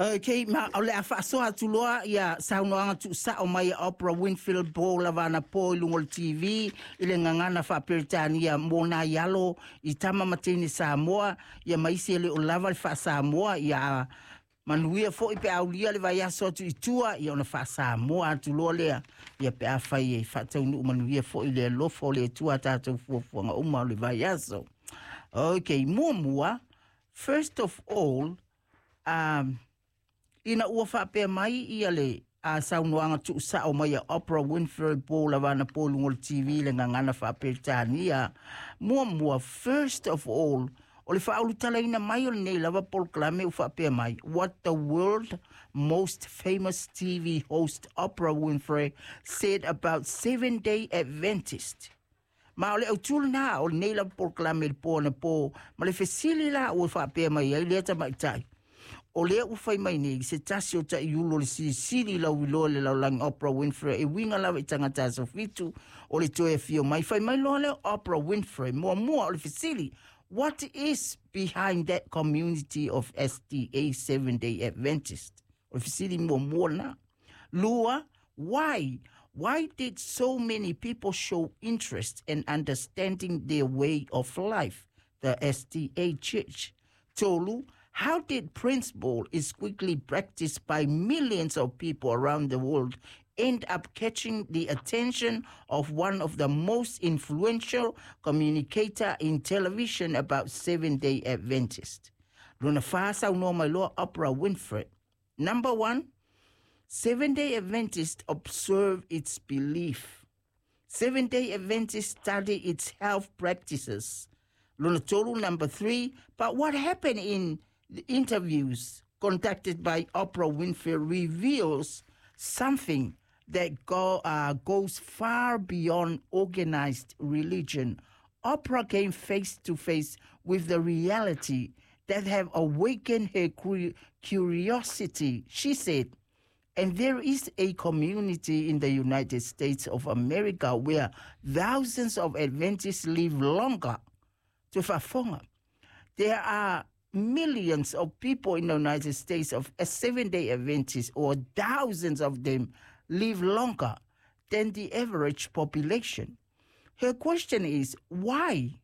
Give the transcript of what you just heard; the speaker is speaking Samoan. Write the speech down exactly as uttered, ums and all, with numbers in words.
Okay, ma o le a faasoa atu loa ia saunoaga tuusao mai a Oprah Winfrey po lava anapo i luga o le T V i le gagana faaperetania mo nai alo i tama ma teine Samoa ia ma isi e le o lava le faasamoa ia manuia foi pe aulia le vaiaso atu i tua ia ona faasamoa atu loa lea ia pe afai e faataunuu manuia foi le alofa o le Atua tatou fuafuaga uma o le vaiaso. Okay, muamua, first of all, um, ina ua faapea mai ia le a saunoaga tuusao mai a Oprah Winfrey po lava anapo i luga o le T V le gagana faaperetania. Muamua, first of all, o le faaulutalaina mai o lenei lava polokalame ua faapea mai, "What the world most famous T V host Oprah Winfrey said about Seven Day Adventist." Ma o le autū lena o lenei lava polokalame le po anapo ma le fesili la ua faapea mai ai lea tamaitai. O lea ua fai mai nei se tasi o taiulu o le silisili lauiloa i le lalolagi Oprah Winfrey e uiga lava i tagata aso fitu o le toe afio mai. Fai mai loa lea Oprah Winfrey, muamua o le fesili, "What is behind that community of S D A Seven Day Adventist?" O le fesili muamua lena. Lua, why? Why did so many people show interest in understanding their way of life, the S D A Church? Tolu, how did principle is quickly practiced by millions of people around the world end up catching the attention of one of the most influential communicator in television about Seven-Day Adventist? Lona fa saunoa mai loa Oprah Winfrey. "Number one, Seven-Day Adventist observe its belief. Seven-Day Adventist study its health practices." Lona tolu, number three, "But what happened in the interviews conducted by Oprah Winfrey reveals something that go, uh, goes far beyond organized religion. Oprah came face to face with the reality that have awakened her curiosity," she said. "And there is a community in the United States of America where thousands of Adventists live longer." To faafofoga. There are millions of people in the United States of a Seven-Day Adventist, or thousands of them live longer than the average population. Her question is, why?